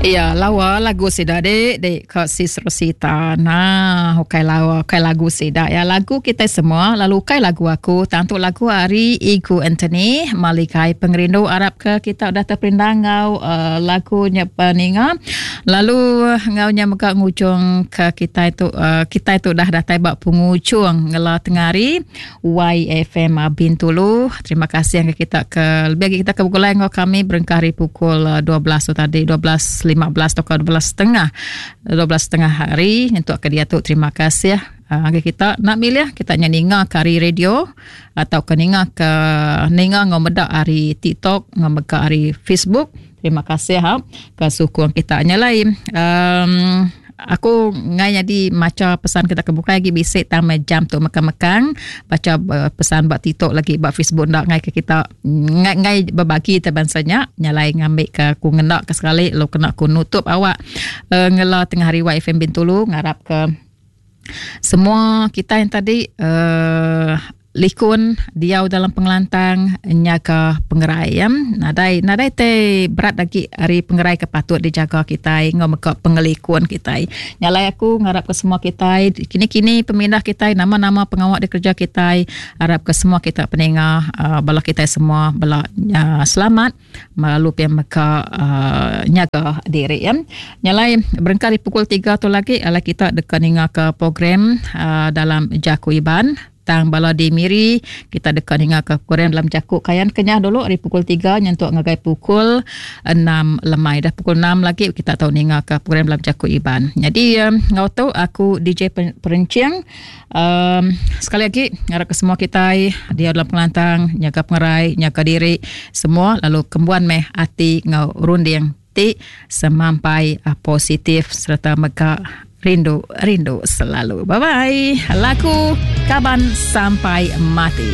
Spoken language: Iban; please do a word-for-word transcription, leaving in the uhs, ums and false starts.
Iya lawa lagu sida dek dek ka sis Rosita. Nah, ukai lawa, ukai lagu sida ya lagu kita semua lalu ukai lagu aku tang tu lagu ari Igu Anthony Malikai Pengerindu. Arap ke kita udah terperindang ngau uh, lagu nya peninga. Lalu ngau nya mega ngujung ke kita itu uh, kita itu dah datai ba pengujung ngela tengari Y F M Bintulu. Terima kasih yang kita ke lebih lagi kita ke begulai ngau kami berengkah hari pukul dua belas tu tadi, dua belas lima belas atau dua belas setengah, dua belas setengah hari untuk ke dia tu. Terima kasih uh, kita nak milih kita nya ninga ke hari radio atau ke ninga ke ninga ngau meda hari TikTok ngau mega hari Facebook. Terima kasih ha ke sukung kita nya lain. Um, aku ngai jadi maca pesan kita ke bukai lagi bisik tang jam tu mekang-mekang baca pesan ba TikTok lagi ba Facebook ndak ngai ke kita ngai ngai berbagi te bansanya nyalai ngambil ke aku ngendak ke sekali lo kena ku nutup awak uh, ngela tengah hari Y F M Bintulu. Ngarap ke semua kita yang tadi uh, likun diau dalam pengelantang nyaga pengerai ya. Nadai nadai te berat lagi hari pengerai ke patut dijaga kita ngau meka pengelikun kita. Nyalai aku ngarap ke semua kita kini-kini pemindah kita nama-nama pengawak di kerja kita harap ke semua kita peninga uh, bala kita semua bala uh, selamat lalu pia meka uh, nyaga diri ya. Nyalai berengkah di pukul tiga tu lagi ala kita dekat ninga ke program uh, dalam Jaku Iban. Tang bala di Miri kita dekat ninga ke program dalam Jaku Kayan Kenyah dulu hari pukul tiga nyentuk ngagai pukul enam lemai. Dah pukul enam lagi kita tahu ninga ke program dalam Jaku Iban. Jadi um, ngau tu aku D J Perencing. Um, sekali lagi ngarap ke semua kita dia dalam pengelantang nyaga pengerai nyaga diri semua lalu kembuan meh ati ngau runding ti semampai uh, positif serta mega rindu rindu selalu. Bye bye. Laku kaban sampai mati.